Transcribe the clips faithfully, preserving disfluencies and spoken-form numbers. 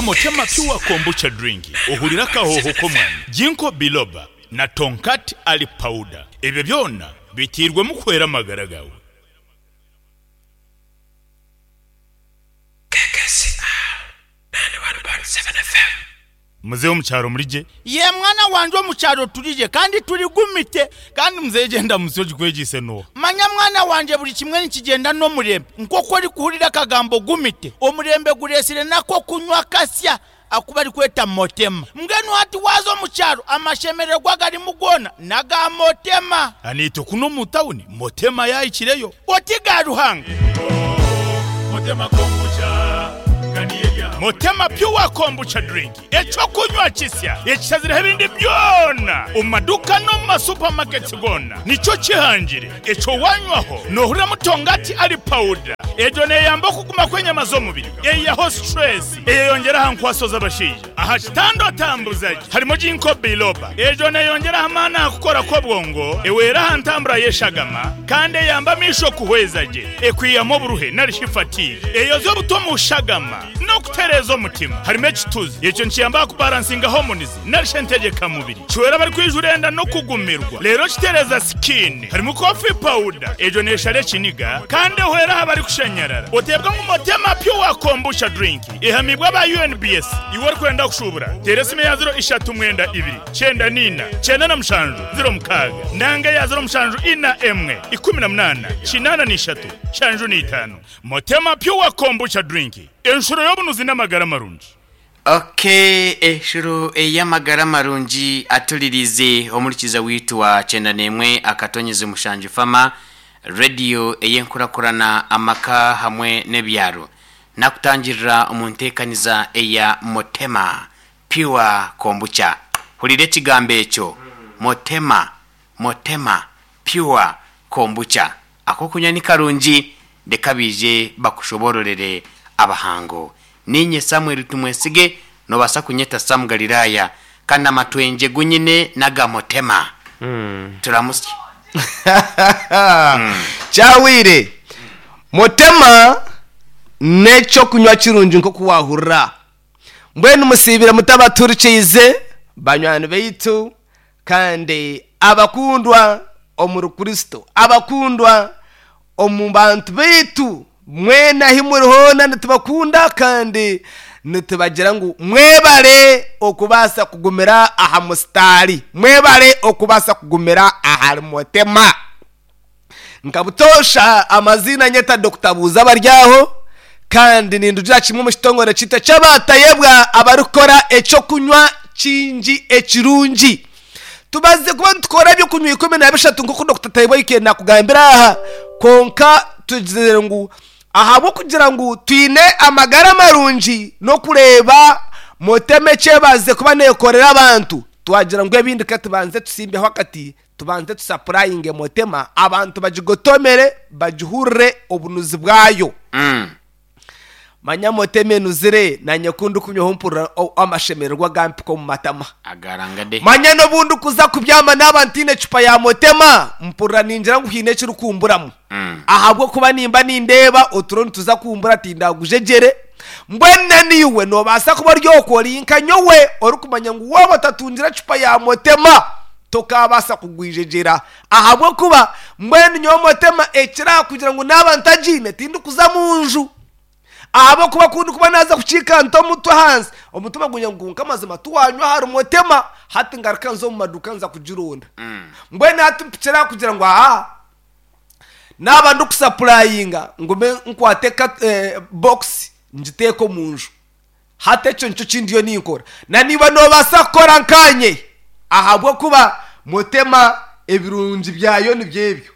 Nywa Motema Pure Kombucha Drink ohurire akahoho k'omwanya. Ginkgo Biloba na Tongkat Ali Powder ebyo byona biteirwemu kuhwera amagara gaawe. Muzeeyi omu kyaro muri gye? Yee mwana wangye omu kyaro turi gye kandi turi gumite. Kandi muzeeyi gyenda musyo ogikwegyeise n'oha? Manya mwana wangye buri kimwe nikigyenda n'omurembe. Nk'oku orikuhurira akagambo gumite, omurembe gureetsire n'ak'okunywa kasya aku barikweta Motema. Mbwenu hati waaza omu kyaro amashemererwa agarimu goona n'aga Motema. Naitwe kunu omu tauni Motema yaahikireyo. Oti ga Ruhanga! Motema Pure Kombucha Drink, eky'okunywa kisya ekishazireho ebindi byona omu maduuka n'omu ma supermarkets goona nikyo kihangire. Ekyo wanywaho noohuriramu Tongati Ali Powder, egyo neeyamba okuguma kw'enyama z'omubiri, eihaho stress, eyeyongyera aha nkwaso z'abashaija. Aha kitanda otambuza gye harimu Ginkgo Biloba, egyo neeyongyera aha maani aha kukora kw'obwongo, ehwera aha ntambura y'eshagama kandi eyamba amaisho kuhweza gye, ekwihamu oburuhe nari shi fatigue, eyoza obuto omu shagama n'okutereeza omutima. Harimu ekituzi, ekyo nikiyamba aha kubaransinga hormones nari shi entegyekamubiri, kihwera abarikwijura enda n'okugumirwa reero kitereeza skin. Harimu coffee powder, egyo neeshara ekiniga kandi ehwera aha barikushanyarara. Oteebwa ngu Motema Pure Kombucha Drink ehamiibwe aba U N B S. Iwe orikwenda kushuubura, teera esimu eya ziro ishatu mwenda ibiri, kyenda n'ina, kyenda na mushanju, ziro mukaaga, nanga eya ziro mushanju ina emwe, ikumi na munaana, kinaana na ishatu, nshanju na itaano. Motema Pure Kombucha Drink, enshuro y'obunuzi n'amagara marungi. Okay, eshuro ey'amagara marungi atulirize omurikiza witu wa kyenda n'emwe akatonyezi mushanju fama radio ey'enkurakurana amaka hamwe n'ebyaro nakutangirira omu nteekaniza eya Motema Pure Kombucha. Hurira ekigambo ekyo, Motema, Motema Pure Kombucha. Akokunywa ni karungi, reka baije bakushobororere abahango. Ninye Samuel Tumwesige, nobaasa kunyeta Sam Galilaya, kandi amatwengye gunyine n'aga Motema. Turamusye. Kyahwire. Motema n'ekyokunywa kirungi nk'oku wahurira. Mbwenu musiibire mutabaturikyize banywani baitu kandi abakundwa omuri Kristo, abakundwa omu bantu baitu mwena ahi muri hoona nitubakunda kandi nitubagira ngu mwebare okubaasa kugumira aha musitaari, mwebare okubaasa kugumira ahari Motema. Nka butoosha amaziina nyeta Dokita Buuza Abaryaho kandi nindugira kimwe omu kitongore kyaitu eky'abatayebwa abarikukora ekyokunywa kingi ekirungi. Tubazize kuba nitukora ebyokunywa ikumi na bishatu nk'oku Dokita Tayebwa Yikeni nakugambira aha, kwonka tugizire ngu ahabw'okugira ngu twine amagara marungi n'okureeba Motema ekyebazize kuba neekorera abantu, twagira ngu ebindi ka tubanze tusimbeho akati tubanze tusapurayinge Motema abantu bagigotomere bagihurire obunuzi bwayo. Mm. Manya Motema enuzire nanye ku ndikunywaho mpurira o- amashemererwa gampika omu matama. Agarangade. Manya n'obu ndikuza kubyama naaba ntaine ecupa ya Motema mpurira ningira ngu haine ekirikumburamu. Mm. Ahabw'okuba nimba nindeeba oturo nituza kumbura tindagujegyere. Mbwenu na naiwe noobaasa kuba ori okwo ori nka nyowe orikumanya ngu waaba otatungire ecupa ya Motema tokaabaasa kugwijegyera. Ahabw'okuba mbwenu nyowe Motema ekirakugira ngu naaba ntagiine tindikuza mu nju. Ahabw'okuba ku ndikuba naaza kukiika nta omutwe ahansi, omutima gungira ngu kwonka amazima tiwanywa ahari Motema, hati ngaruka nza omu maduuka nza kugironda. Mbwenu hati mpikire aha kugira ngu aa naaba ndikusapurayinga ngume nkwate ka eh, box ngiteeke omu nju. Hati ekyo nikyo kindiyo ninkora. Na naiwe noobaasa kukora nkaanye ahabw'okuba Motema ebirungi byayo nibyo ebyo.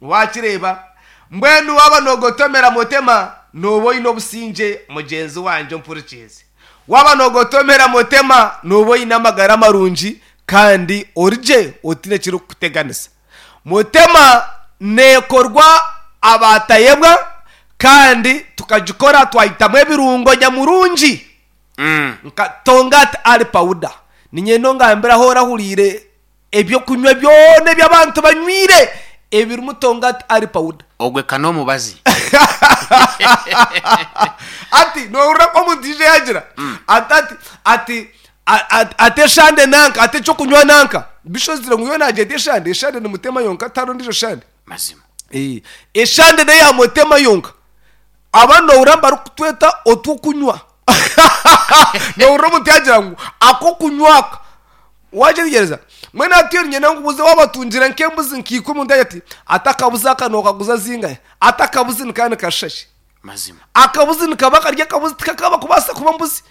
Waakireeba? Mbwenu waaba noogotomera Motema, nooba oine obusingye mugyenzi wangye ompurikiize. Waaba noogotomera Motema, nooba oine amagara marungi kandi ori gye otaine ekirikukuteganisa. Motema neekorwa abaatayebwa kandi tukagikora twahitamu ebirungo nyamurungi Mm. nka Tongkat Ali Powder. Niinyenda ongambire ahu orahuriire ebyokunywa byona ebi abantu banywire Ebirimu tongati ari powder. Ogwe kana omubazi. Ati nohurira omuntu ije yagira ati ati ati a- a- ate eshande nanka, ate ekyokunywa nanka, bishozire ngu yo nagyeta eshande, eshande ni mutema yonka, taro ndijo shande. Mazima. Eh, eshande neya mutema yonka. Aba nohurira barikutweta otwokunywa. Nohurira omuntu yagira ngu akokunywa aka wagyereza mwene atiyo nyina ngubuze wabatungira nk'embuzi nkikumi, omuntu yagira ati atakabuzi aka nokaguza zingahe, atakabuzi nikandi kashashe. Mazima. Akabuzi nikaba karya akabuzi tikakaba kubasa kuba mbuzi.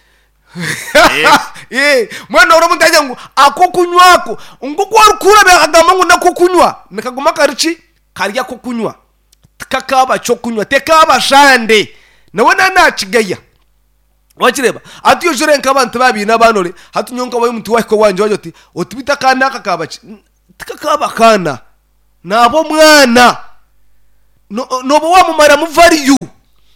Eh. Eh, mwene uri omuntu yagira ngu ako kunywa ako ngu kwarikura akagamba ngu nako kunywa nikaguma kariki karya ko kunywa tikakaba cyo kunywa tekaba shande nawe nanakigaya. Wakireba ati yo jure nk'abantu babiri n'abanore hati nyonka bayo omuntu wahiko wanje waje oti otubita kana aka kaba ki tikakaba kana nabo mwana no nobo wamumara mu value.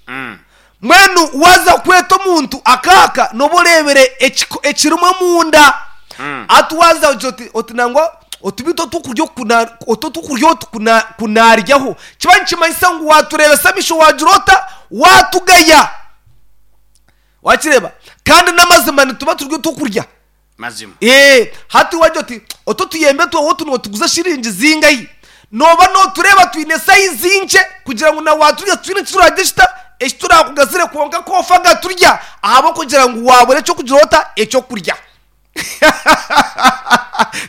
Mm. Mwenu waza kweta omuntu akaka noborebere ekirimo munda. Mm. Ati waza oti oti nangwa otubita otukurya okuna oto tukurya otukuna kunaryaho kiba nikimanyisa ngu waturebesa amisho wagira ota watugaya. Wakireba kandi n'amazima nituba turya tukurya. Mazima. Eh, hati wagira oti oto tuyembe twaho tuno tuguza shiringi zingayi noba notureba twine sayizi nce kugira ngu na waturya twine turagishita ekiturakugazire kwonka kofaga turya ahabo kugira ngu wabure cyo kugira ota ekyo kurya.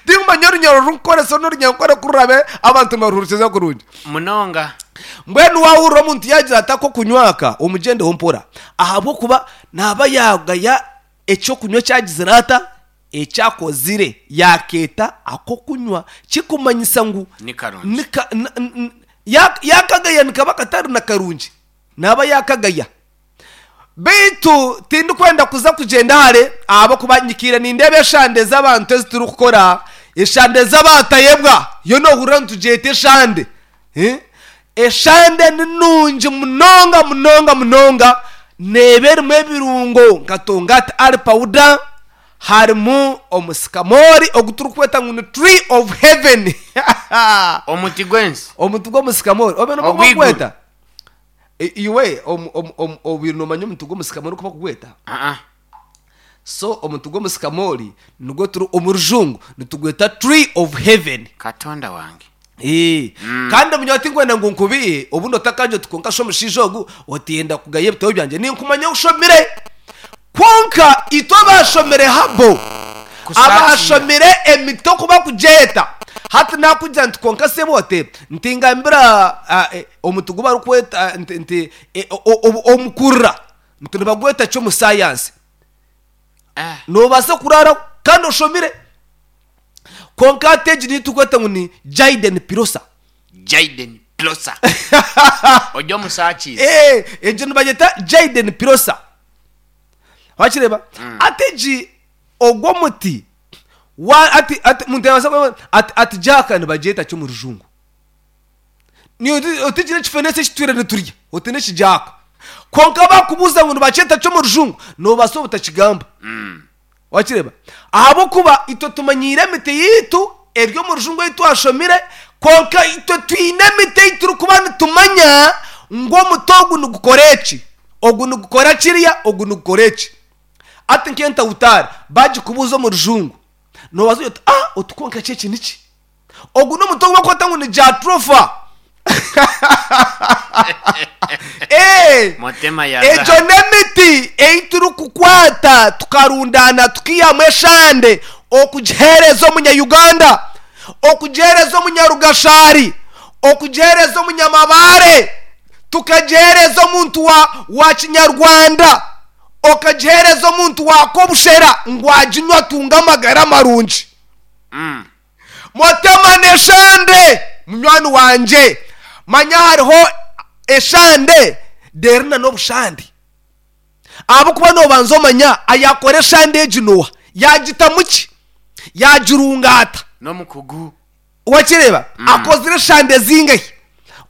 Ndimanya orunyaro runkoresa n'orunyankore kururabe abantu baruhurikiza kurungi. Munonga. Mbwenu wahurira omuntu yagira ati ako kunywaka omugyendeho mpora ahabwokuba naba yagaya ekyokunywa kyagizire ata ekyakozire yakeeta ako kunywa kikumanyisa ngu Ni karungi. nika, n, n, ya, yakagaya nikaba katari na karungi naba yakagaya. Beitu tindikwenda kuza kugyenda hare ahabwokuba nyikire nindeeba eshande z'abantu eziturikukora eshande z'abatayebwa yo nohurira nitugyeta eshande. Eh? Eshande ni nungi munonga munonga munonga neeba erimu ebirungo nka tongati ari powder, harimu omusikamori ogu turikweta ngu ni tree of heaven. Omuti gwensi. Omuti gw'omusikamori obe nibwo Ogw'iguru. gweta. Iwe obwire nomanya omuti gw'omusikamori kuba kugweta. Ah ah. So omuti gw'omusikamori nigwo turi omu rujungu nitugweta tree of heaven. Katonda wange. Eh. Kandi omunya tinkwenda ngu nkubihe obundi otakanje tukonka sho omushaija ogu otiyenda kugaya ebitabo byangye ninkumanya oshomire kwonka itwe abashomire habo Kusaasira. abashomire emiti okuba kugyeta hati nakugira nti konka sebote ntingambira ah, eh, omuti gu barikweta nti nti eh, o- o- omukurura nti nibagweta ki omu sayansi. Ah. Nobaasa kurara kandi oshomire konka ati egi nitukweta ngu ni Jaden Pirosa. Jaden Pirosa. Ojya omusakizi. Eh, egyo nibagyeta Jaden Pirosa. Wakireba ati egi ogwo muti wa ati ati muntu yabaasa kuba ati ati jaka nibagyeta ki omu rujungu. Ni otigire ekifenesi ekitwire niturya oti n'ekijaka konka bakubuuza ngu nibakyeta ki omu rujungu nobaasa obutakigamba. Mm. Wakireba ahabwokuba itwe tumanyiire emiti yiitu eri omu rujungu ei twashomire konka itwe twine emiti ei turikuba nitumanya ngu omuti ogu nigukora eki ogu nigukora kiriya ogu nigukora eki. Ati nk'entawutaari bagikubuuza omu rujungu nobaasa oti ah otukonka ki eki niki ogu n'omuti ogu bakweta ngu ni jatropha. Eh, Motema ya egyo zahabu. n'emiti ei turikukwata tukarundana tukihamu eshande okugiheereza omunya-Uganda, okugiheereza omunyarugashari, okugiheereza omunyamabare, tukagiheereza omuntu wa, wa kinyarwanda, okagiheereza omuntu wa kobushera ngu aginywa atunge amagara marungi. Mm. Motema n'eshande munywani wangye manya hariho eshande derina n'obushande ahabwokuba nobanza omanya ayakora eshande egi noha yagitamu ki yagirungaata N'omukugu. wakireba akozire eshande zingahi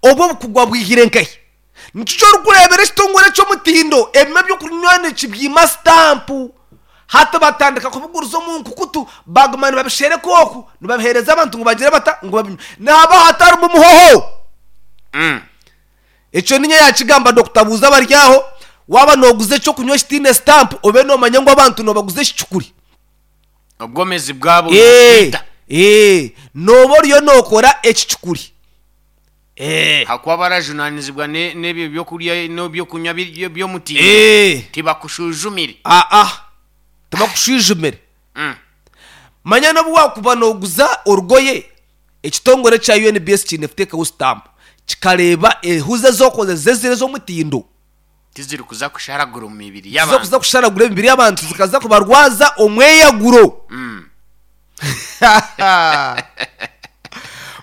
obwo obukugwa bwihire nkahi nikyo orikureebera ekitongore ky'omutindo ebimwe by'okunywa nikibyima sitampu Hati batandika kubiguriza omu nkukutu, baguma nibabishereka oku, nibabiheereza abantu ngu bagire bata, ngu babinywe. Nihaba hatarimu muhoho. Mm. Ekyo ninye yakigamba Dokita Buuza abari aho, waaba nooguza ekyokunywa ekitaine sitampu, obe noomanya ngu abantu noobaguza ekicukuri. Obwomezi bwabo Eh, nibwita. eh, nooba oriyo nookora ekicukuri. Eh. Hakuba barajunanizibwa ne- n'ebyo byokurya n'ebyokunywa biri- by'omutindo. Eh. Tibakushujumire. Aa, tibakushwijumire. Mm. Manya n'obu wakuba nooguza orugoye, ekitongore kya U N B S kiine kuteekaho sitampu kikareeba ehuzi ez'okozesa eziri ez'omutindo. Tiziri kuza kusharagura omu mibiri ziza y'abantu. kuza kusharagura emibiri y'abantu, zikaza kubarwaza omweyaguro. Mm.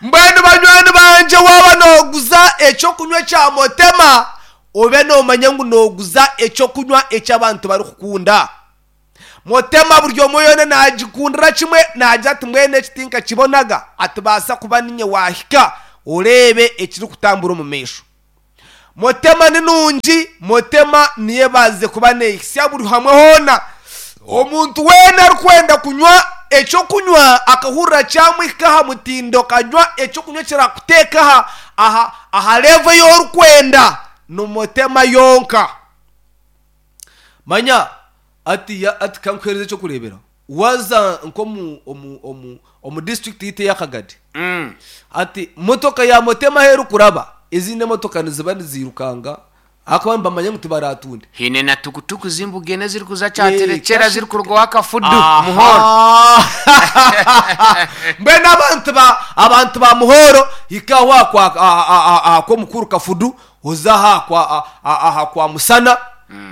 Mbwenu banywani bangye, waaba nooguza ekyokunywa kya Motema, obe noomanya ngu nooguza ekyokunywa eky'abantu barikukunda. Motema buri omwe yoona naagikundira kimwe, naagira ati mbwenu eki tinkakibonaga, atibaasa kuba ninye waahika oreebe ekirikutambura omu maisho. Motema ni nungi, Motema niyo ebaasize kuba neehisya buri hamwe hoona. Omuntu weena arikwenda kunywa ekyokunywa akahurira kyamwihika aha mutindo, kanywa ekyokunywa kirakuteeka aha aha aha level ei orikwenda, ni Motema yonka. Manya ati ya ati kankuheereza ekyokureeberaho, waza nk'omu omu omu omu district yitu ey'Akagadi, Mm. ati motoka ya Motema ahu erikuraba, ezindi emotoka niziba nizirukanga ahakuba nibamanya ngu tibaratunde. Hine na tukutuku zimbugene ziri kuza Eh, kyaterekyera kashi- ziri kurugaho akafudu Muhoro. Aha. Mbwenu abantu ba abantu ba Muhoro, hikaho aha kwa aha kwa mukuru Kafudu, oza aha kwa aha kwa Musana,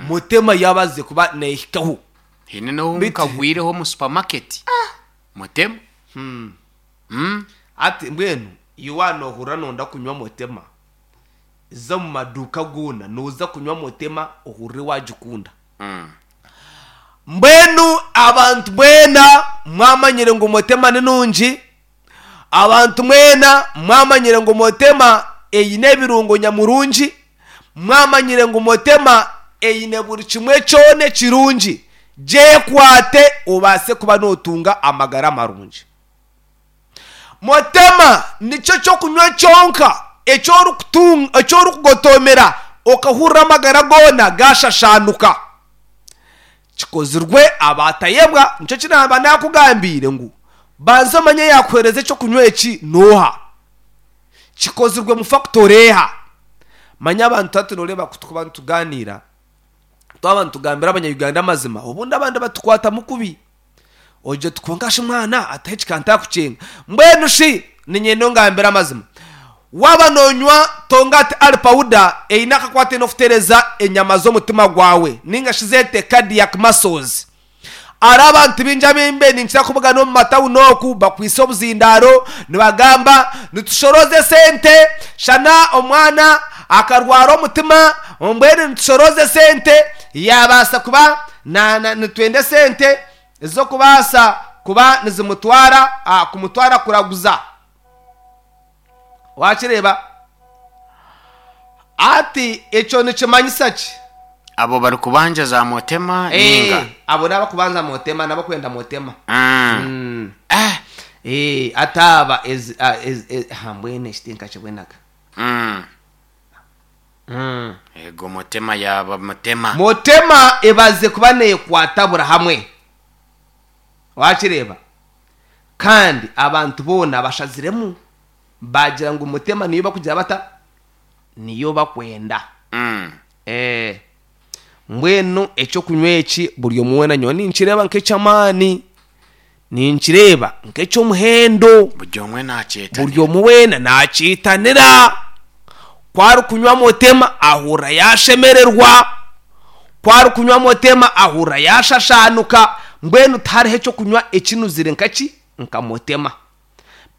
Motema yabaze kuba nehikaho. Hine n'obu Bit- nkagwireho omu supermarket Motema. Mm. Ati mbwenu iwe nohurira nonda kunywa Motema, za mu maduka goona noza kunywa Motema ohurire wagikunda. Mm. Mbwenu abantu mwena mwamanyire ngu Motema ni nungi, abantu mwena mwamanyire ngu Motema eine ebirungo nyamurungi, mwamanyire ngu Motema eine buri kimwe kyona ekirungi. Gyekwate obaase kuba nootunga amagara marungi. Motema nikyo kyokunywa kyonka ekyorikutunga, ekyorikugotomera okahurira amagara goona gashashanuka. Kikozirwe abatayebwa, nikyo kinamba nakugambiire ngu banza omanye yakuheereza ekyokunywa eki nooha, kikozirwe mu factory eha. Manya abantu hati noreeba ku tukuba nitugaaniira, twaba nitugambira abanyayuganda amazima, obundi abandi batukwatamu kubi, ogye tukwonka shi mwana atahe kikantakukinga. Mbwenu shi niinyenda ongambire amazima, waaba noonywa Tongati Ali Powder eine akakwate n'okutereeza enyama z'omutima gwawe, ninga shi zeete cardiac muscles. Ari abantu baingi abimbe ninkira kubugana omu matawuni oku bakwise obuzindaaro nibagamba nitushoroze sente, shana omwana akarwara omutima, mbwenu nitushoroze sente yabaasa kuba na, na, nitwenda sente ez'okubaasa kuba nizimutwara ah, kumutwara kuraguza. Wakireeba ati ekyo nikimanyisa ki? Abo bari kubanja za Motema Eh, ninga abo n'abakubanza Motema, n'abakwenda Motema. Mm. Mm. Ah. Eh, ataba ez, a- ez, ez, ha mbwene ekitinka kibwenaga. Mm. Mm. Ego Motema yaba Motema. Motema ebaze kuba neekwata buri hamwe, wakireeba, kandi abantu boona bashaziremu bagira ngu Motema niyo bakugira bata, niyo bakwenda. Mm. Eh, mbwenu ekyokunywa eki buri omwe weena nyowe ninkireeba nk'eky'amaani, ninkireeba nk'eky'omuhendo. Buri omwe nakyeta. Buri omwe weena nakiitanira. Ku kunywa Motema ahurra yashemererwa, ku kunywa Motema ahurra yashashanuka. Mbwenu tihariho ekyokunywa ekinuzire nkaki nka Motema.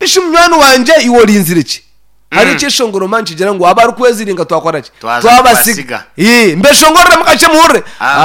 Bishi munywani wangye, iwe orinzire ki? Hari ekyeshongoro man kigira ngu abari kweziringa twakora ki? Twaza Twabasiga. kubasiga. Ii, mbeshongorere mukakye muhurire. Ah.